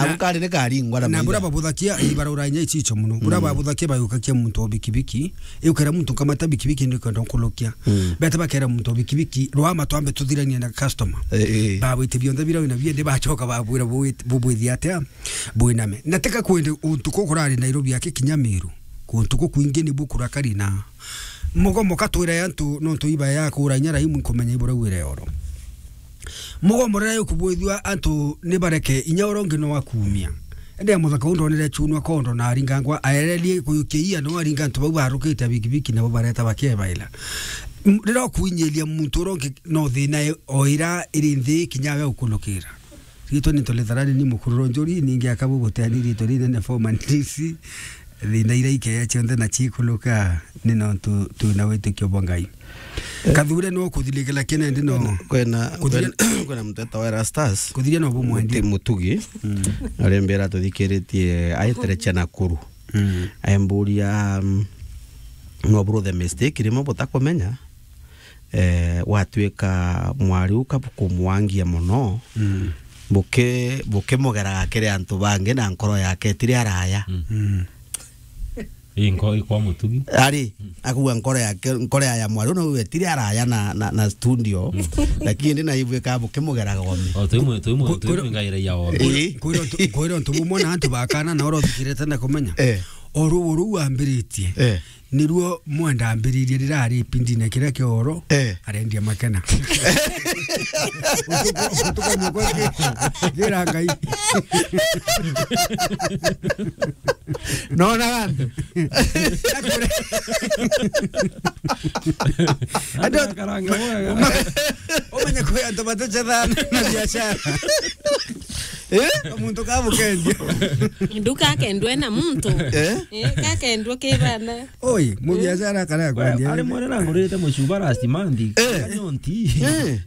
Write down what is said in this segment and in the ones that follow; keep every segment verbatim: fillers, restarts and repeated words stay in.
Abu kari ni karingwa na na bura maitha. Babuthakia, ii, barora inya ichicho muno. Bura Mm. babuthakia bayukakia muntu o bikibiki, iukera muntu nkamata bikibiki ni kwenda nkulukia. Mm. Bete bakera muntu o bikibiki, rwa matwambe tuthiranie na customer. Eh, eh. Babwite bionthe bira wina biendi bachoka babwira bubwithia atia, bwiname. Na tika kwende untu kukurari Nairobi yake kinya Meru. Kuntu kukwingi ni bukurakari na mugomo katwira antu nontu iba ya kura inya raimu nkumenya ibura wire oro. Mugomo riria ukubwithua antu ni bareke inya oro ngi no akumia. Ende muthaka undu onere chunwa kondo na aringangwa aererie kuyukia ia no aringa antu bau barukite bikibiki nabo bareta bakebaila. M-, riria ukuinyiria muntu oro ngi no thina e-, o ira iri nthi kinya we ukunukira. Ritwa ni Toletharani ni mukuru Ronjori, ningi akabu guteani ritwa rinene former D C. Thina ira ikeya cionthe na cikuluka ni nontu twina witikio bwa Ngai. Eh. Kathure no kuthiria kila kina ndi no. Kwena, kwena, kwena, kwena muteta wa Erastus. Kuthiria no bumwendia. Muti-, Mutugi. Mm. Arembera tuthikiritie aiterecha Nakuru. Mm. Aemburia, mm, no bro the mistake, rimo butakumenya. Eh, watwika mwari uka bukumwangia muno, Mm. buki-, bukimugeraga kiri antu bangi na nkoro yake itiri araya. Mm. Mm. Ii nko-, ikwa Mutugi. Ari, akuga nkoro yake, nkoro ya mwari uno itiri araya na, na, na studio, Mm. lakini ndi naibwika bukimugeraga ome. O, twi mwe-, twi mwe-, Ku-, twi kuri-, mwengaira ya ome. Ii. Kwira untu, kwira untu bumwe na antu bakana na oro thikirite na kumenya. Eh. O ruo ruu ambiritie. Eh. Niruo mwenda ambiririe rirari ipindine kiria kia oro, Eh. arendia makena. Utuko, utuko mukwe ki-, kira Ngai. Nona antu. Andu karanga mwega. Umenye kwi antu batuchetha na biashara. Eh? Muntu kabukendia. Nduka akendwe na muntu. Eh? Eh, kakendwa kibana. Oi, mubiashara kara kwendia. Ari mwene nangurite mucuba last month. Eh. Kanyonti. Eh.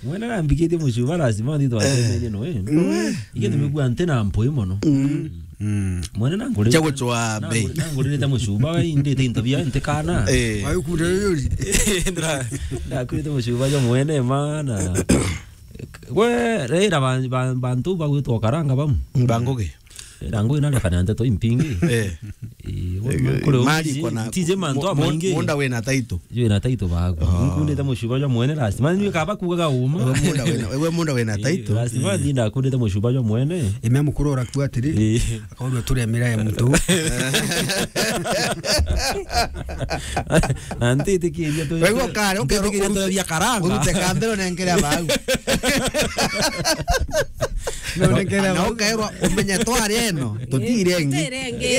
Mwene nambikitie mucuba last month twatemenye no, eh. Mm. Ige nimegua nte na mpoi mono. Mm. Mm. Mwene nangurite. Cha gucwa bei. Nangurite mucuba indite into bia nte kana. Eh. Wayo kure yuri. Ndra-, ndakwite mucuba jo mwene mana. We, rira ba-, ba-, bantu bagwitwa karanga bamu. Bangugi. Rira ngugi na rekana nteto impingi. Eh. Eh, we, eh, kuri mali uti-, kona, tije mantu mu-, mu-, amaingi. Munda wina taito. Jwe na taito bagu. Ah. Nkundite mucuba jwa mwene last. Mani ni kaba kugaga uma. We munda wina, we munda wina taito. Eh, last man ndakundite mucuba jwa mwene. Ime mukuru ora kuatiri. Eh. Akaona turi amira ya muntu. Na ntitikiria tu. Wewe ukare, ukare, twitikiria tu bia karanga. Urute kambero na nkere abau. No, na, na ukaerwa umenye twari eno, tutire engi. Tutire engi.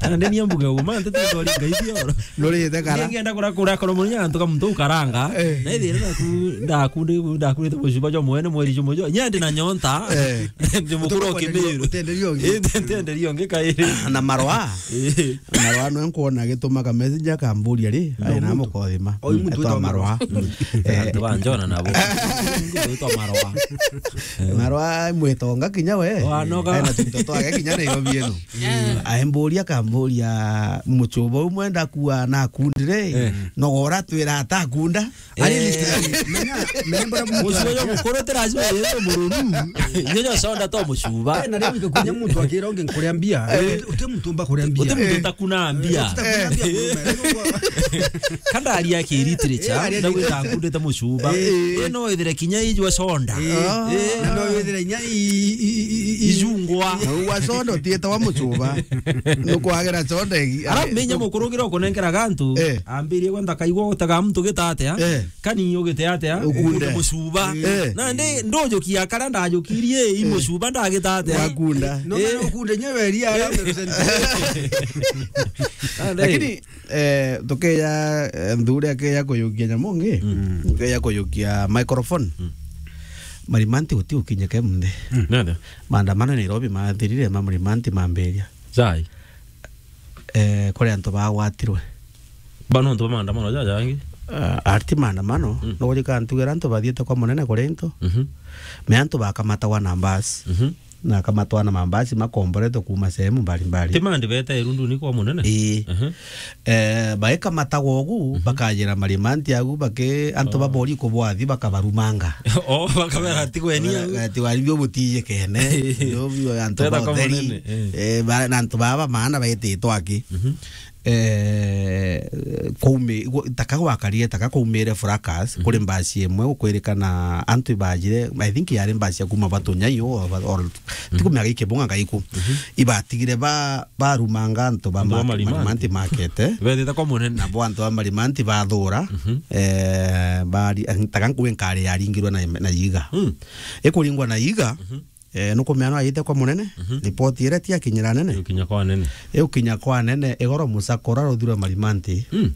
Na ndeni ambuge uma, ntetu twari ngai bioro. Nurite kara. Ngenda kura kura koro munya antu kamuntu ukaranga. Eh. Na ithire ndaku, ndaku, ndaku, ndaku, ndaku, mucuba jwa mwene mweri jumwe jwa. Nyandi na nyonta. Eh. Ndi mukuru o Kimiru. Utenderio ngi. Eh, ntenderio ngi kairi. Na marwa. Eh. Marwa no nkuona agituma ka messenger kamburia ri, no, ai na muntu. Mukothima. Oi, muntu etwa witwa Marwa. Marwa. Eh. Antu ba Njona nabo. Muntu witwa Marwa. Marwa mwitonga kinya we. Wanoga. Ai na tunto twake kinya Nairobi ino. Eh. Aimburia kamburia muchuba umwe ndakua na akundire. Eh. No gora twira atakunda. Ari list ya menya, menya mbara muntu. Mucuba yo mukuru ti lazima yeye mururu. Nyenye sonda to mucuba. Eh, na leo ikakunya muntu akira ungi nkuria mbia. Eh. Uti muntu mba kuria mbia. Uti muntu utakuna mbia. Eh, utakuna mbia kurume. Kanda ari ya ki literature, eh, ari na gwita akundite mucuba. Eh. Eh, no ithire kinya ijwa sonda. Eh. Eh. No ithire nya i, i, i, i, i. Ijungwa. Na uwa sonda utietawa mucuba. Nukwagira sonda igi. Ara menya mukuru gira ukunenkera gantu. Eh. Ambirie gwenda kaigwa gutega muntu gita atia? Eh. Kani ugite atia? Ukunde. Ukunde mucuba. Eh. Na ndi ndujukia kara ndajukirie i mucuba ndagita atia? Wakunda. No, eh. No ukunde nyewe ria ara percent. Ah, ndi. Lakini, eh, tukeya, eh, nthuri akeya kuyukia nyamu ngi. Mm. Tukeya kuyukia microphone. Mm. Marimanti guti ukinyeke munthi. Mm. Nada. Maandamano Nairobi mathirire ma Marimanti mambiria. Jai. Eh, kuri antu bagwatirwe. Ba nontu ba maandamano jaja angi? Ah, arti maandamano, mhm, no gurika ntugera antu bathiite kwa munene kuri into. Mhm. Me antu bakamatagwa na mbasi. Mhm. na akamatwara na mambasi makomboretwe kuuma sehemu mbalimbali. Ti mandi beta Irunduni kwa munene? Ii. Aha. Eh, baikamatagwa ugu, mhm, bakajira Marimanti agu, baki-, antu, oh, babori kubwathi bakabarumanga. Oh, bakabera ati gweni au. Ati wari bio butiyikene. Ndio bio antu. Teta kwa batheri. Munene, eh. Eh, ba-, na antu baba maana baititwe aki. Mhm. Eh, kwaumi-, gwa-, taka gwakarire, taka kwaumire fracas, mhm, kuri mbasi imwe gukwirikana antu ibajire, I think yari mbasi ya kuma Batunyai or, or, mhm, tikumenya giki bunga gaiku. Mhm. Ibatigire ba-, barumanga antu ba Antu ba market, Marimanti. Marimanti market, eh. Bethite kwa munene. Nabo antu ba Marimanti bathura, mhm, eh, bari-, taka nkuwe nkari yaringirwe na, na iga. Mm. Ikuringwa na iga, mhm. Eh, nukumenya no ayite kwa munene, mhm, ripoti iria ti akinyira nene. Iukinya kwa nene. Iukinya kwa nene, igoro musakura ruthirwe Marimanti. Mm.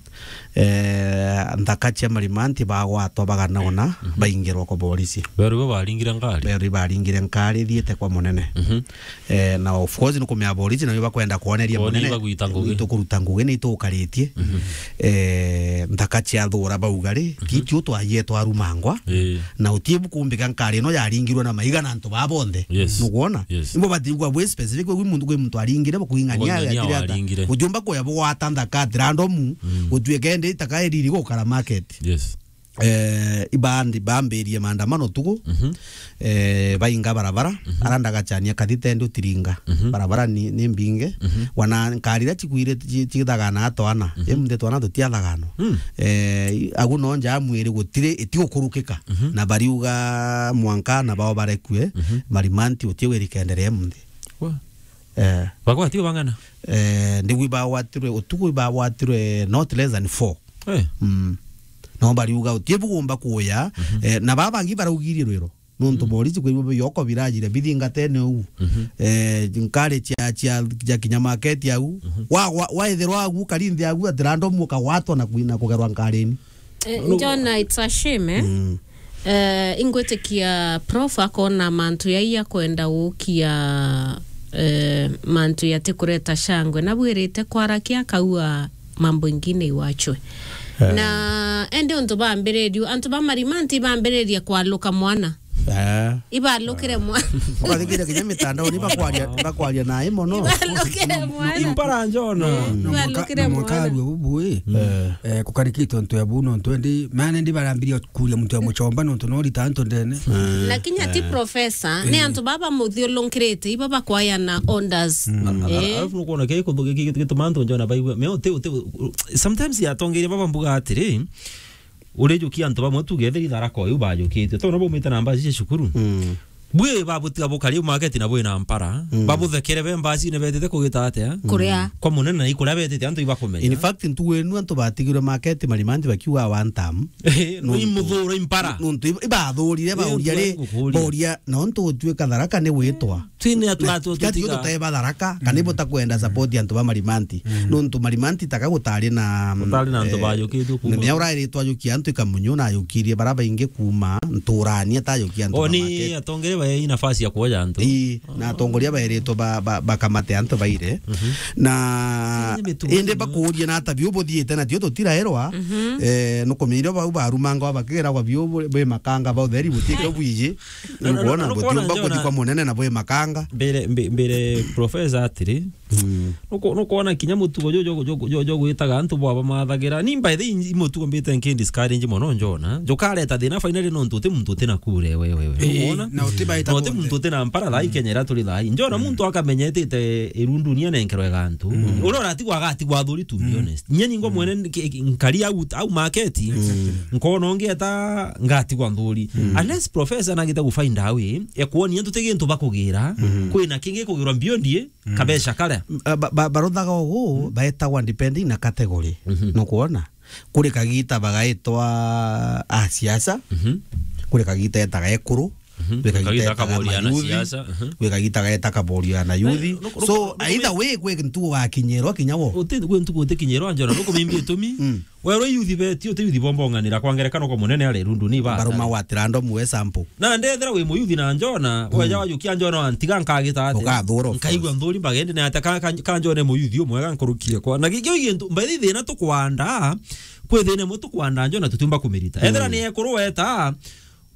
Eh, nthaka cia Marimanti bagwatwa baganona, mhm, baingirwa kwa borisi. Beru bo baringire ngari? Beru baringire ngari thiite kwa munene. Mhm. Eh, na of course nukumenya borisi na bakwenda kwoneria munene. Kwoneria bagwita ngugi. Nitukuruta ngugi, nitukaritie. Mhm. Eh, nthaka cia thura bauga ri, mhm, titio twaie twarumangwa. Ii. Na utie bukumbika nkari ino yaringirwe na maiga na antu baa bonthe. Yes. Nukwona? Yes. Imbo batigwa bwi specific, kwi muntu, kwi muntu aringire, bukuing'ania. Bukuing'ania atirata. Waringire. Utiumba kuya bugwata nthaka at random, mm, utuike ndi itaka iriri gukara market. Yes. Eh, ibandi bambirie maandamano tuku, mhm, eh, bainga barabara, mhm, ara ndagachania kathite ndi utiringa. Mhm. Barabara ni, ni mbinge, mhm, wana nkari iria cikwire ci-, cithagana atwana, mhm, imunthi twana tutiathagano. Mm. Eh, agu no nja mwiri gutiri itigukurukika. Mhm. Na bariuga mwanka na bao barekue, mhm, Marimanti utie wiri kenderea imunthi. Wa. Eh. Bagwatio bang'ana? Eh, ndigwi bagwatirwe, utuku bagwatirwe not less than four. Eh. Mm. No bariuga utie bugumba kuya, mhm, eh, na baba bangi baraugirie rwiro. Nontu, mm, borisi kwi bo bioko birajire bithingatene uu. Mhm. Eh, nkari cia, cia, cia kinya market au. Mhm. Wa, wa, waithirwa agu, karinthi agu, at random ukagwatwa na kwina kugerwa nkarini. Eh, no, Njona, it's a shame, eh? Mm. Eh, ingwitikia prof akona mantu yai akwenda gukia, eh, mantu yatikureta shangwe. Nabwirite kwarakia akaua mambo ingine iwachwe. Eh. Na ende untu bambiririo, antu ba Marimanti bambiririe kwaluka mwana. Eh. Ibalukire mwana. Ukathikira kinya mitandao ni bakwaria, bakwaria na imo no. Ibalukire mwana. Impara Njona. Mm. Na mwaka, ibalukire na mwaka mwana. Arua bubu, eh. Eh. Eh, kukarikite untu ya bu no ntwendi, maana ndi barambiria kuria muntu ya muchomba no ntu no rita antu ndene. Mm. Na kinya ti, eh, professor, ni, eh, antu baba muthiulunkirite, iba bakwaya na orders. Mm. Eh. Alafu nukwona kei kuthu-, ki-, ki-, gituma antu Njona baigua. Me uti, uti, sometimes atongeria baba mbuga atiri, urijukia antu bamwe tuge etheri Tharaka uyu bajukitie. Tona baumite na mbaci cia cukuru. Mm. Bwi babutiga bukari market na bwi na mpara. Mm. Babuthekere be mbacine betite kugita atia? Kuria. Kwa munene na ikuria betite antu ibakumenya. In fact, ntugu inu antu batigirwe market Marimanti bakiuga one term. Eh, no, no imuthura impara. Nontu iba-, ibathurire, eh, bauria ri, boria, na ontu gutuika Tharaka ni witwa. Twine atu-, na atu-, atu-, tiga tiga tuteba Tharaka, kana, mm, ibo takwenda support antu ba Marimanti. Mm. Nontu Marimanti taka gutari na, gutari na antu, eh, bajukitie kuma. Mea urairitwe ajukia antu ikamunyu na ajukirie bara baingi kuma nturani atajukia antu. O, ba ni market. Atongere bae nafasi ya kuoja antu. Ii, na atongoria bairitwe ba, ba, bakamate antu baire. Mhm. Na indi bakuuria na ata biu buthiite na tio tutirairwa, mhm, eh, nukumiire bau barumangwa bakiragwa biu bu-, bwi makanga ba utheri butike bwiji. Na, na, na, nukwona na, nukwona butiumba kuthi kwa munene na bwi makanga. Mbere, mbe-, mbere professor atiri, mm, nuko-, nukwona kinya mutugo jo, jo, jo, jo, jo gwitaga antu bwaba mathagira. Ni by the way, i mutugo mbite nki discourage mono Njona. Njukareta thina finally nontu uti muntu uti na kure we, we, we. Eh, nukwona? Na uti baita na uti bonthe. Muntu uti na mpara thaa, mm, Kenya iria turi thaa. Njona, mm, muntu akamenya etite irundu ni anenkerwe gantu. Mm. Uria uratigwa agatigwa athuri, to be, mm, honest. Nye ningwa, mm, mwene nki-, nki-, nkari au, au market. Exactly. Nkona ungieta ngatigwa nthuri. Mm. Unless professor nagite gufind a way ya kuonia antu ti gintu bakugira, mm, kwina kingi kugirwa beyond ye, mm, kabeca karia. M-, a, ba, ba, baruthaga ugu, mm, baetagwa depending na category. Mhm. Nukwona? Kuri kagita bagaitwa a siasa, mhm, kuri kagita etaga ekuru, mhm, kuri kagita etaga kaboria na mayuthi, siasa, mhm, kuri kagita gaeta kaboria na yuthi. No, no, no, so, no, either way, kwi ntugu gakinyirwa kinya wo. Uti, kwi ntugu utikinyirwa Njona, nukumimbi itumi. Mm. Werwe yuthi beti, uti yuthi bombonganira kwa ngerekano kwa munene ari rundu ni ba. Baruma wa tirando mwe sample. Na ndethera wi muyuthi na Njona, mm, weja wajukia Njona wantiga nkagita ati. Ukathura, of course. Nkaigua nthuri mbagende na ata ka, ka, ka Njona muyuthi umwega nkurukie kwa. Na gikio gintu, mbathi thina tukwanda, kwi thina imwe tukwanda Njona tutiumba kumirita. Mm. Ethera ni ekuru weta,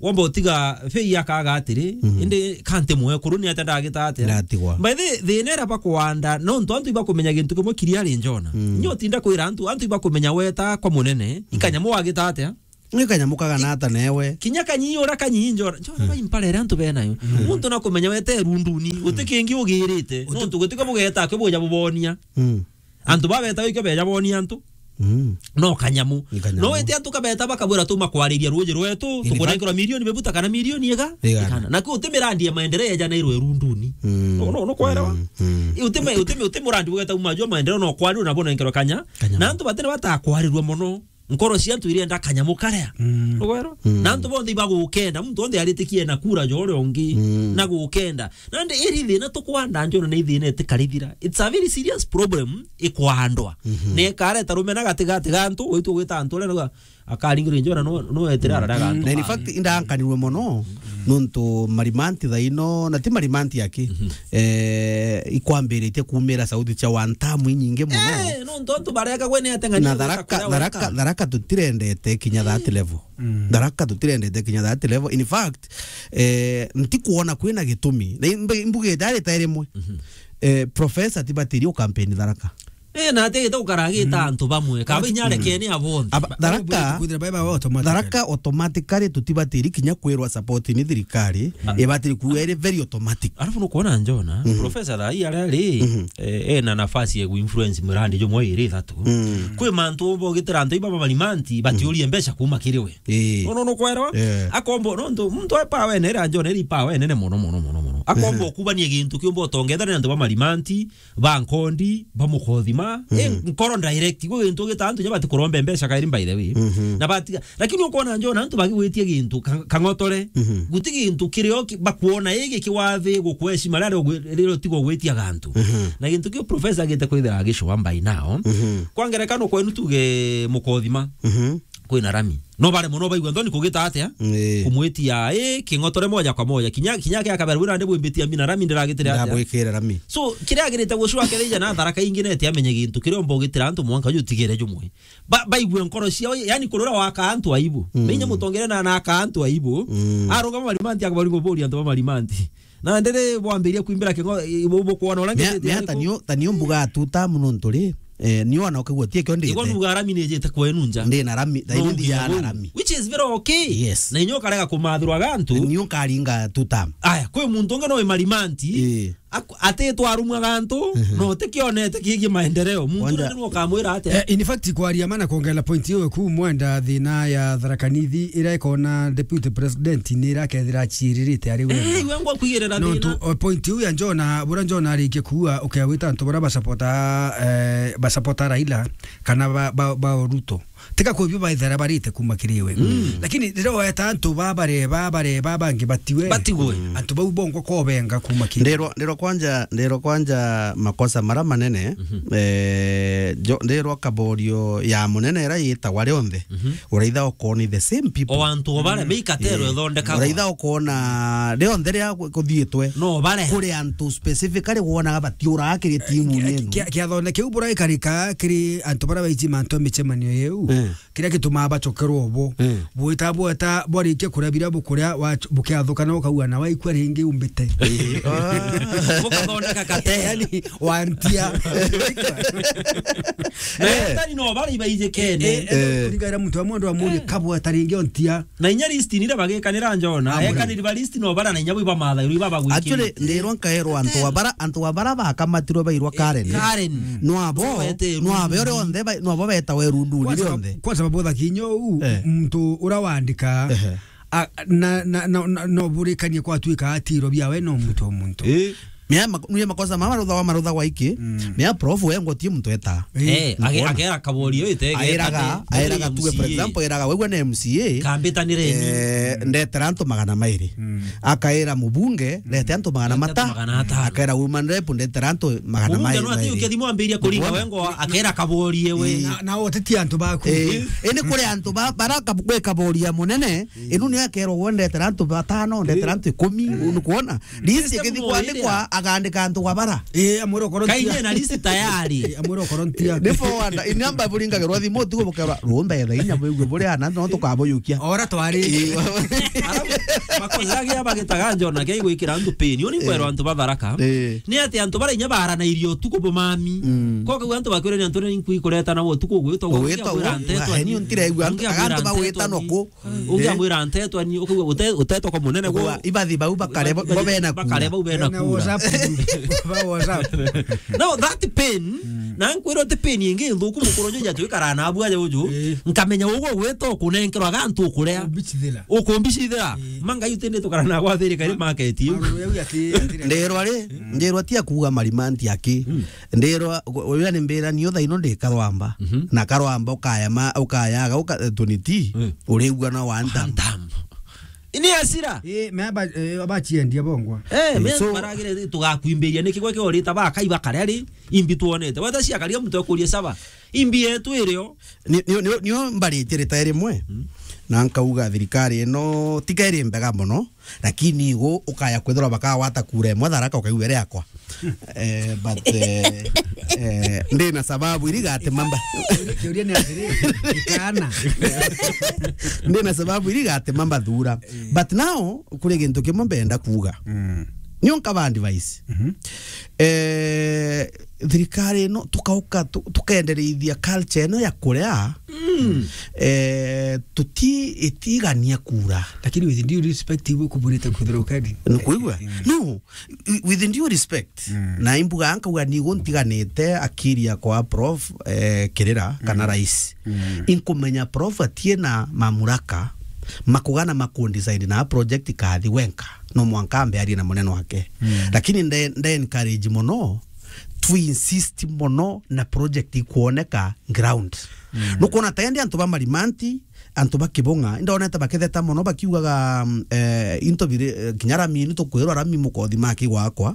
Womba utiga fei akaga atiri, mm, indi kanti mwekuru ni atia ndagita atia? Ndatigwa. By the way, thina iria bakwanda, no ntu antu ibakumenya gintu kimwe kiria ari njona. Mm. Nyo tinda kwira antu, antu ibakumenya weta kwa munene, mm, ikanyamu wagita atia? Ni kanyamu kagana ata newe? Kinya kanyi ura kanyi njona. Njona, mm, bai mpara iria antu benayo. Mm. Muntu nakumenya wete runduni, guti kingi ugirite. Uti- No ntu guti ko bugeta ke buja bubonia. Mm. Antu babeta ikio beja bonia antu. Mm. No kanyamu. Ni kanyamu. No wete antu kabeta bakabwira tuma kwariria ruji rwetu, in fact, tukunenkerwa milioni bebuta kana milioni iga? Igana. Igana. Na ku uti mirandi ya maendeleo eja nairwe runduni. Mm. No, no, no kwerewa. Mm. Mm. I uti me-, uti me-, uti murandi bugeta uma jwa maendeleo no kwani na bonenkerwa kanya. Kanyamu. Na antu batene batakwarirwa mono. Nkoro cia antu irenda kanyamu karia. Mm. Ugwero? Mm. Na antu bonthe ibagukenda, muntu onthe aritikie na kura jore ungi, mm, na gukenda. Nandi iri thina tukwanda njona ni thina itikarithira. It's a very serious problem ikwandwa. Mhm. Ne kareta rumena gatigati ga antu, witu gwita antu ria akaringire njona no, no etira arara ga antu. Na in fact, indankanirwe mono, nontu marimanti thaino, na ti marimanti aki, mhm, eh, ikwambiritie kumira sauti cia wantamu inyingi mono. Eh, nontu antu barega gwe ni ateng'ani. Na Tharaka, Tharaka, Tharaka tutirendete kinya that level. Mm. Tharaka tutirendete kinya that level. In fact, eh, ntikuona kwina gitumi. Na imbe-, imbuge jari ta rimwe. Mhm. Eh, professor tibatiri o campaign Tharaka. Eh, na atigite gukaragita, mm, antu bamwe. Kaba inya arekene abonthe. Aba-, Tharaka, kwithira baba automatically. Tharaka automatically tutibatiri kinya kwirwa support ni thirikari, mm, ibatiri kuuga iri very automatic. Alafu nukwona njona, mhm, professor thaa hii aria ari, mhm, eh, ena nafasi ya kuinfluence mirandi jumwe iri ithatu. Mm. Kwi mantu umba ugitira antu iba bamarimanti, batiurie mbeca kuma kiri we. Ii. Nono nukwirwa? Yeah. Akombo, nontu muntu e power ene, ira njona iri power enene mono, mono, mono, mono. Akombo, mhm, kubania gintu kiumba utongethane na antu bamarimanti, ba nkondi, ba mukothima. Mhm. Eh, nkoro direct, gwi gintu gita antu nya batikurombe mbeca kairi, by the way. Mhm. Na batiga, lakini ukwona njona antu bagigwitia gintu ka-, kang'otore. Mhm. Guti gintu kirio ki-, bakwona igi kiwathi gukweshima riria ugwi-, riria utigwa ugwitia gantu. Mhm. Na gintu kiu professor agite kwithira agicua by now. Mhm. Kwa ngerekano kwenu tuge mukothima. Mhm. Kwina rami. No bare mono baigua nthoni kugita atia? Ii. Kumwitia, ii, king'otore moja kwa moja. Kinya, kinya kia kabere, wira ndi bwimbitia mina rami ndiragitire atia? Ndabwikire rami. So, kiria agirite gucua kethija na Tharaka ingi nete amenye gintu kiria umba ugitira antu mwanka uju tigire jumwe. Ba-, baigue nkoro ciao, yani kurura waka antu aibu. Mm. Menya mutongere na, na aka antu aibu. Mm. Arungama marimanti akabaringo bori antu ba marimanti. Na ndiri bwambiria kwimbira king'o, i-, bu-, bukwona uria. Mea-, ngitite mea ariku? Ta nio, ta nio mbuga tuta muno nturi. Eh, nio wana ukigua tie kio ndite. Igwa nuga rami ni jite kwenu nja. Ndi na rami, tha no ini nginya ndia na bu. Rami. Which is very okay. Yes. Na inyo karega kumathirwa gantu. Nio karinga tuta. Aya, kwi muntu ungi no imarimanti. Eh. Aku-, ati twarumwa gantu, mhm, no tikionete kigi maendeleo. Muntu kwanja, ndio ukamwira ate. Eh, in fact, kwaria mana kuongerera point hiyo ku mwenda thina ya Tharaka Nithi ira ikona deputy president ni ira kethira achiririte ari we. Eh, iwe ngwa kwigirira no thina. Tu, o point hiyo ya Njona, bura Njona arikie kuwa, ukewita antu bara basapota, eh, basapota Raila, kana ba, ba, ba Ruto. Tiga kwibio baithera barite kuma kiri we. Mm. Lakini riria weta antu ba bare, ba bare, ba bangi batiwe. Batigwe. Mm. Antu bau bongwa kobenga kuma kiri. Ndirwa, ndirwa kwanja, ndirwa kwanja makosa mara manene, mhm, eh, jo-, ndirwa kaborio ya munene ira yitagwa rionthe. Mhm. Uraitha okoni the same people. O antu o bare, mm, meikatero, eh, ithondekagwa. Uraitha okona rionthe ria ku-, kuthiitwe. No bare. Kuri antu specifically wonaga batiuraga kiri timu kia-, yenu. Kia-, kiathone kiu buraikarika kiri antu bara baiji mantu a micemanio yeu. Eh. Kiria gitumaa bacokerwa ubo. Eh. Bwita bweta bwarikia kuria biria bukuria wa-, bukiathukana ukaua na waikua ringi umbite. Eh. Bukathondeka kate. Yani, wantia. Na eh, etani no bari baijikene. Eh, eh, eh, kuringaira muntu wa mundu amurie, eh, kabweta ringi ontia. Na inya list ni ira bagikanira Njona. Ah, ekaniri ba list no bara na inya bwi bamathairwa ibabagwikiri. Actually, ndirwa nkaerwa antu abara, antu abara bakamatirwe bairwa Karen. Karen. No abo, no abe ore onthe ba-, no abo betawe rundu ni onthe. Kwa sababu tha kinyo u, eh, muntu ura wandika, ehe, a, na, na, na, na, no burikanie kwa tuika atiro biawe no muntu o muntu. Eh. Mea mak-, nue makosa mama marutha wa, marutha wa iki. Mm. Mea prof we ngotie muntu eta. Eh, age-, agera kabori yo ite, aeraga, aeraga tuge, for example, aeraga, wegwa na M C A. Kambitanire ni. Eh, ndetera antu magana mairi. Mm. Akaera mubunge, ndete antu magana mata. Magana atano. Akaera woman rep, ndetera antu magana mairi. Mubunge no ati ukethimo ambiria kuringa wengo, akera kabori ewe. Eh. Na, na oteti antu baku. Eh, ene kuri antu ba-, bara kab-, gwe kabori ya munene, mm, inu ni akerwa we ndetera antu batano, ndetera antu ikumi, mm, ni kuona. List ikithikwa ni kwa Gandika antu gwa bara. Eh, amwira ukoro ntia. Kainye na list tayari. Eh, amwira ukoro ntia. Ni forward, ni amba buringagirwa thimu utuku bukerwa, rumbe tha inya bwigue buri ana, no tukabuyukia. Ora twari. Eh, wa- Arabu, makosa gia bagitaga Njona kia igwikira antu pain. Uni kwerwa antu batharaka. Eh. Ni ati antu bara inya baranairie utuku bumami. Mm. Koka antu bakwire ni antu ni nkwi kuretana utuku gwitwa. Gwitwa, gwitwa, gwitwa, gwitwa, ni untire igua antu, antu bagwitana ku. Ungi amwira ntetwa ni, ukauga ute-, utetwa kwa munene gwo. Ibathi bau bakare bo, bo bena kura. Bakare bau bena kura. WhatsApp group. Ba WhatsApp. Now that pain, na nkwira uti pain ingi nthuku mukuru njuja twikara na abu aja uju, nkamenya ugu gwita ukunenkerwa ga antu ukurea. Umbicithira. Ukumbicithira. Manga yu tindi tukara na gwa thiri kari market yu. Ndirwa ri, ndirwa ti akuga marimanti aki. Ndirwa, uria ni mbira ni uthaino ndikarwamba. Na karwamba ukaya ma, ukayaga uka, tuniti. Urigua no one time. One time. Ini asira. Eh, me aba, eh, abachiendia bongwa. Eh, me so baragire tugakwimbiria niki gwe kiorita bakai bakaria ri imbi tuonete. Wata cia karia muntu akuria saba. Imbi yetu irio. Ni, ni, ni, nio mbaritire ta rimwe. Na nkauga thirikari ino tiga iri mbega mono, lakini igu ukaya kwithirwa bakawata kura imwe Tharaka ukaigua iri yakwa. Eh, but, eh, eh, ndina sababu iri gatema mba- Kiuria ni atiri, ikana. Ndina sababu iri gatema mbathura. But now, kuri gintu kimwe mbenda kuuga. Nio nkaba advice. Eh, thirikari ino tukauka tu-, tukendereithia culture ino ya kuria, eh, tuti-, itigania kura. Lakini with due respect, ibu kuburite kuthira ukadi. Nukuigua? No, with due respect, na imbuga nkauga nigo ntiganite akiria kwa Prof, eh, Kirira kana rais. Inkumenya Prof atie na mamuraka makugana makundesign na project kathi wenka. No mwanka ambe arie na munene wake. Lakini nde, nde encourage mono, tu insist mono na project ikuoneka ground. Nukwona ta indi antu ba Marimanti, antu ba Kibong'a, indonete bakitheta mono bakiugaga, mm, eh, into biri, eh, kinya rami ni tukwirwa rami mukothi maki gwakwa.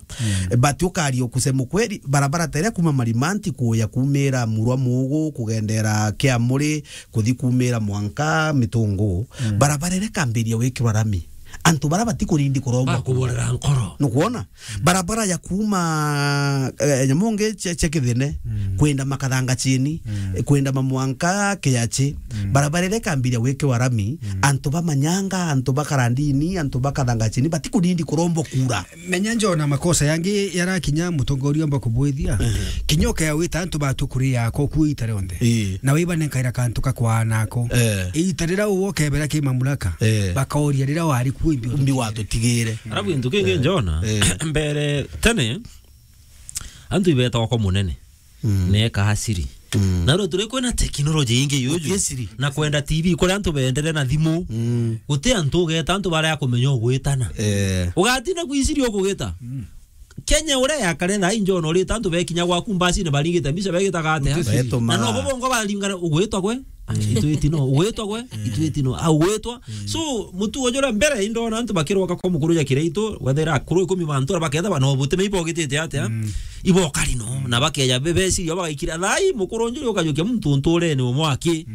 Eh, but ukaria kusema kweli, barabara ta iria kuma Marimanti kuya kumira Murwa Mugu, kugendera Kiamuri, kuthi kumira mwanka Mitungu, barabara iria ikambiria wikirwa rami. Antu bara batikurindi kurombwa. Bakuborera nkoro. Nukwona? Barabara ya kuma, eh, Nyamonge cia, cia Kithene, kwenda Makathanga chini, eh, kwenda Mamwanka Kiachi. Barabara iria ikambiria gwikirwa rami, antu ba Manyanga, antu ba Karandini, antu ba Kathanga chini, batikurindi kurombwa kura. Menya Njona makosa yangi yarakinya mutongoria omba kubwithia. Kinya ukea wita antu batu kuri yako ku ita rionthe. Na wiba nenkaira kantu ka kwaana ako. Ita rira uwo ukebera ki mamlaka. Bakauria rira wari ku imbi. Mbi watutigire. Arabu gintu kingi Njona, mbere tene, antu ibetagwa kwa munene. Neka asiri. Na ro turi kwina teknoloji ingi yuju. Na kwenda T V, kuri antu bendere na thimu. Guti antu ugeta, antu baria kumenya ugwitana. Ugatina kwiciri ukugita. Kenya uria yakare thaa injo no rita antu bekinya gwaku mbacine baringite mbica begitaga atia? Na no bo bongo baringana ugwitwa gwe? Itwiti no, ugwitwa gwe? Itwiti no, au gwitwa. So, mutugo jura mbere indona antu bakiroka kwa mukuru ja Kiraitu, wethera akuru ikumi bantu baketha bana obuti me ibogitite atia? Ibokari no, na bakeja bebeciria bagaikira thai mukuru njuri ukajukia muntu nturene umwe aki.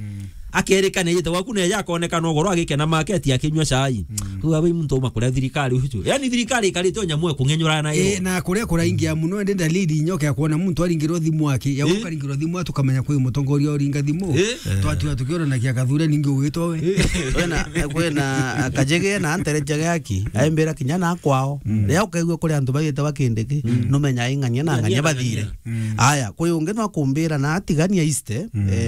Akerikana ejete gwaku na eja akonekana ugoro agikena maketi akinyua chai. Kuga bai muntu uma kuria thirikari uju. Yani thirikari ikarite o nyamu ekung'enyurana yo. Eh, na kuria kuraingia muno, ende dalili nyoka ya kuona muntu aringirwo thimu aki. Ya ukaringirwo thimu atu kamenya kwi mutongoria uringa thimu. Twatua tukiona na kia kathure ningi ugitwa we. Kwena, kwena kajege na antere jage aki. Aimbira kinya na kwao. Ria ukaigua kuri antu bagite bakindiki. Numenya ing'ania na ng'ania bathire. Aya, kwi ungi no akumbira na atigania East, eh,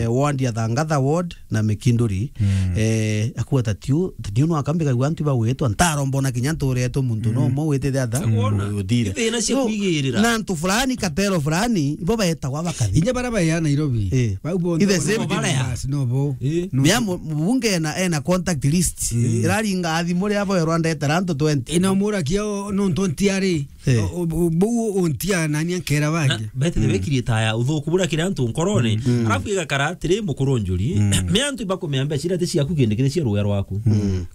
ward ya Thangatha ward na Mikinduri, eh, akua tatiu, tatiu no akambika gwa antu bagwitwa, ntaro mbona kinya nturetwe muntu no mo witite atha, uthire. Ithina cia kwigirira. Na antu fulani, katero fulani, ibo baetagwa bakathi. Inya bara baya Nairobi. Eh. Bau bo the same thing. Basi no bo. Bia mu-, mubunge ena, ena contact list. Iraringa athi muri abo erwa ndetera antu twenty. Ina mura kio no twenty ari. Eh. O, o, bou untia nani ankera bangi. Bethe bekirie taya uthuku bura kiri antu nkorone. Arafu igakara atiri mukuru njuri. Me antu ibakumea mbeca iria ti ciaku kindi kiri cia ruya rwaku.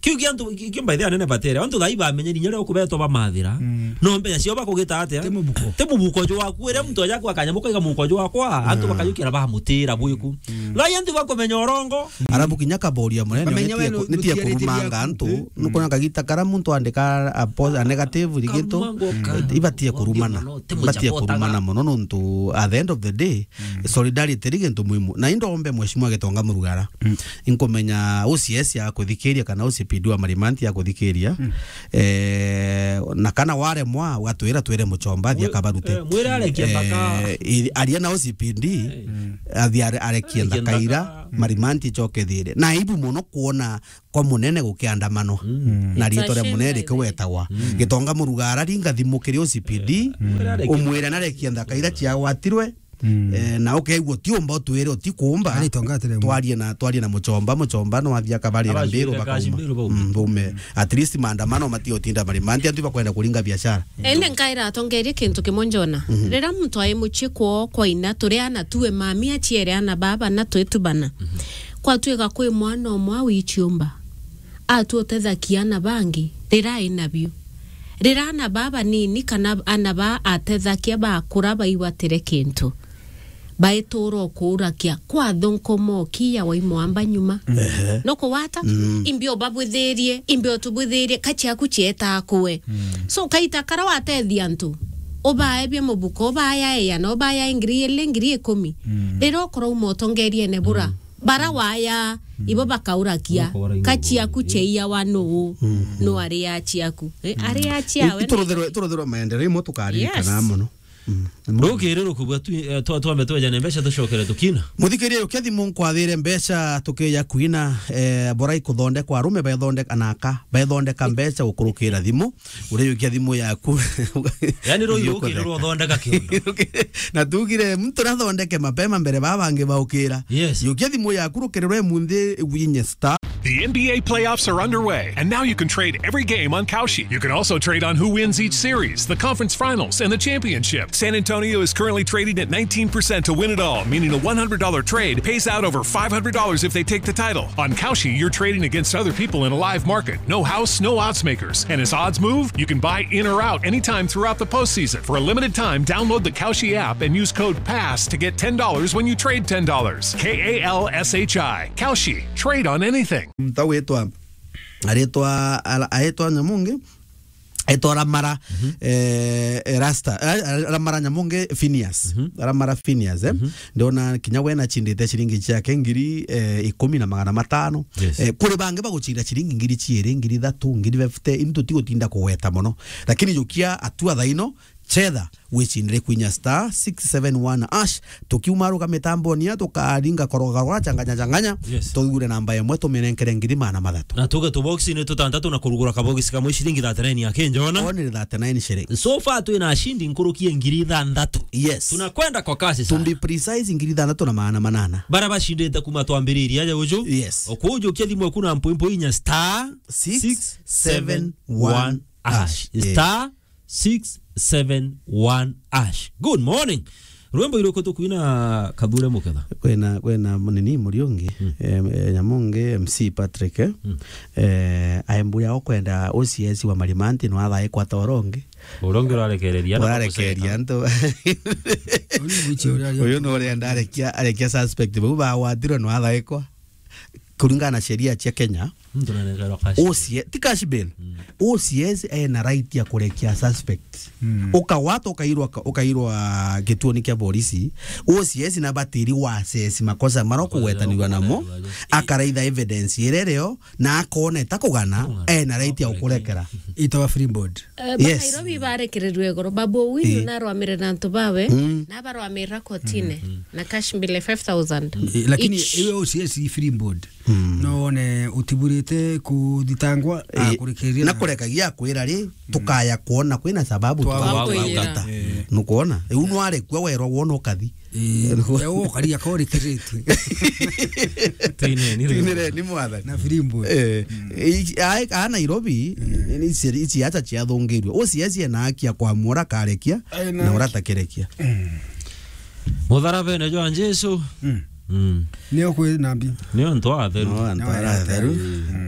Kiu kia antu, ki-, kio by the way anene batere. Antu thai bamenye ninya rio kubetwa bamathira. No mbeca cio bakugita atia? Ti mubuko. Ti mubuko jo waku. Iria muntu aja kwa kanya muko iga muko jo wakwa. Antu bakayukira bamutira bwiku. Thai antu bakumenya orongo. Arabu kinya kaboria munene, bamenya nitie we ku-, nitie nutiarite kurumanga biaku. Antu, nukona kagita kara muntu andika a po-, a negative rigitu. Karumanga uka. ibatie kurumana. Ibatie kurumana muno nontu at the end of the day, solidarity ri gintu muhimu. Na indombe Mheshimiwa Gitonga Murugara. Inkumenya O C S ya kuthikiria kana O C P D wa Marimanti ya kuthikiria. Eh, na kana waremwa, ugatwira twire Muchomba, athia kabarute. Eh, mwire arekia thaka. Eh, i-, aria na O C P D, athia are-, arekie thaka ira, Marimanti icoke thire. Na aibu muno kuona kwa munene gukiandamano. Na riitwa ria munene rikiwetagwa. Gitonga Murugara ringa thimu kiri O C P D, umwire narekia nthaka ira ciagwatirwe. Eh, na ukeigua utiumba utwire utikuumba. Twarie na, twarie na Muchomba, Muchomba no athia akabarira mbiru bakauma. Mbiru baume. At least maandamano matiotinda Marimanti, antu bakwenda kuringa biashara. Ende nkaira atongerie kintu kimwe njona. Riria muntu ai mucii kwoo kwa ina, turi ana tuwe mami aciere ana baba na twitubana. Kwatuika kwi mwana umwe wiciumba. Atuotethakia ana bangi, riria ai nabio. Riria ana baa banini kana ana baa atethakia bakura baigwatire kintu. Baituura ukuurakia, kwatho nkomoki ya waimwamba nyuma. Ehe. Nukuwata? Imbi ubabwithirie, imbi utubwithirie, ka ciaku cietaa kuwe. So, kaita kara watethia antu, ubaebia mubuko, ubaya iana, ubaya ngiri ili, ngiri ikumi. Riria ukurauma utongeriene bura, bara waya, ibo bakaurakia, ka ciaku ciaiyawa nuu? Nuu aria ciaku? Eh, aria ciawe? Iturutherwe, iturutherwe maendeleo imwe tukaririkana mono. Rukiri rukubua tu, eh, twa-, twambe twejane mbeca tucokere tukina. Muthikiria, ukia thimu nkwathire mbeca tukiya kuina, eh, bora ikuthondekwa, arume bethondeka na aka, bethondeka mbeca gukurukira thimu, uriyukia thimu yaku. Yani, ruu yukirwe uthondeka kiundu. Na tugire muntu nathondeke mapema mbere baa bangi baukira. Yes. Yukia thimu yaku rukiri rwe munthi winye star. The N B A playoffs are underway, and now you can trade every game on Kalshi. You can also trade on who wins each series, the conference finals, and the championship. San Antonio is currently trading at nineteen percent to win it all, meaning a one hundred dollar trade pays out over five hundred dollars if they take the title. On Kalshi, you're trading against other people in a live market. No house, no odds makers. And as odds move, you can buy in or out anytime throughout the postseason. For a limited time, download the Kalshi app and use code pass to get ten dollars when you trade ten dollars. K A L S H I. Kalshi. Trade on anything. Muntu witwa, aritwa, ara-, aitwa Nyamungi, aitwa Ramara, eh, eh, Rasta, eh, Ramara Nyamungi Phineas. Ramara Phineas, eh. Ndona kinya we nachindite ciringi ciake ngiri, eh, ikumi na magana matano. Yes. Eh, kuri bangi bagucinda ciringi ngiri ciiri, ngiri ithatu, ngiri fifty, into tigutinda kugweta mono. Lakini jukia atua thaino, chetha wicindire kwinya star six seven one hash. Tukiuma ruga mitamboni ya tukaringa koroga rwa changanya changanya. Yes. Tugure namba imwe tuminenkere ngiri magana mathatu. Na tuge tuboxi ni tutantatu na kurugura kaboxi kamwe ciringi thirty-nine ya Kenya, ona? Only thirty-nine shillings. So far twina ashindi nkurukie ngiri ithanthatu. Yes. Tunakwenda kwa kasi sana. To be precise, ngiri ithanthatu na magana manana. Bara bashindite kuma twambiriria aja uju. Yes. Okujukia thimu eku na mpuimpu inya star six seven one hash. Yes. Star six seven one hash. Good morning. Rwimbo iroko tukwina Kathure Muketha? Kwina, kwina nini Muriungi, eh, eh, Nyamungi, M C Patrick, eh? Eh, aembuya okwenda O C S wa Marimanti no athaikwa ta urongi. Urongi urarekereria na urarekereria ntu. Uyu no urenda arekia, arekia suspect bau bagwatirwe no athaikwa. Kuringana na sheria cia Kenya, muntu nanengerwa cash bail. O C S, ti cash bail. O C S ena right ya kurekia suspect. Ukawata ukairwa ka-, ukairwa gituoni kia polisi. O C S na batiri wa assess makosa mara kugwetanirwa namo, akaraitha evidence iria irio, na akona itakugana, ena right ya kukurekera. Itawa free board. Eh, ba Nairobi barekererirwe igoro. Babu Owino narwamire na antu bawe, na barwamira kotine na cash mbele five thousand. Eh, lakini iwe O C S free board. No wone utiburite kuthitangwa, eh, akurikiria na kurekagia akwira ri, tukaya kuona kwina sababu twakwira. Nukwona? Riu nwarekua werwa wona ukathi. Eh, ukaria korikiritwe. Tuineni, tuineni mwathani. Na free board. Eh, i-, a, a Nairobi, ni ciaca ciathungirwe. O C S ena haki ya kwamua ura akarekia na ura atakerekia. Mutharabene jwa Jesu. Nio kwi nambi. Nio antu atheru. No, antu atheru.